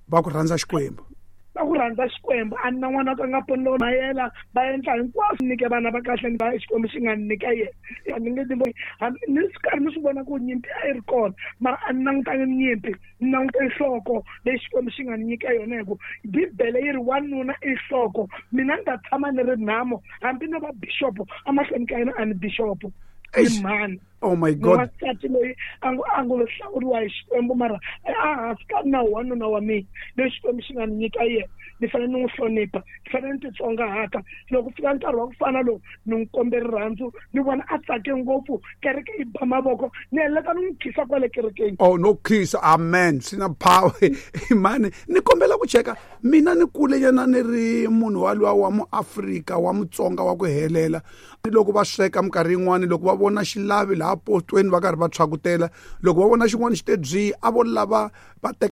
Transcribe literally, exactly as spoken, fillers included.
Va ku rhandza Xikwembu. Va ku rhandza Xikwembu. A ni na n'wana ka nga poni mayela va endla hinkwaswo nyike vana va kahle va Xikwembu xi nga ni nyika yena. A ni nge ni ni swi karhi ni swi vona ku nyimpi a yi ri kona, mara a ni langutangi nyimpi, ni langute nhloko leyi Xikwembu xi nga ni nyika yona, hi ku Bibele yi ri wanuna i nhloko. Mina ni ta tshama ni ri nhamo hambi no va bixopo emahlweni ka yena, a ni bixopo ni mhani. Oh my God. Wansati loyi a ngo a ngo lo hlawuriwa hi Xikwembu, mara a hansi ka nawu wanuna wa mina loyi Xikwembu xi nga ni nyika yena, ni fanele ni n'wi hlonipha, ni fanele ni titsongahata. Loko fika nkarhi wa ku fana lowu, ni n'wi kombe rirhandzu, ni vona a tsake ngopfu, kereke yi ba mavoko, ni heleka ni n'wi khisa kwale kerekeni. Oh no, khisa, amen, swi na power. Mani ni kombela ku cheka, mina ni kule nyana ni ri munhu waluwa wa muAfrika wa Mutsonga wa ku helela. Loko va sweka minkarhi yin'wani, loko va vona xilavi laha potweni va karhi va tshwakutela, loko va vona xin'wana xi te byi, a vo lava va teka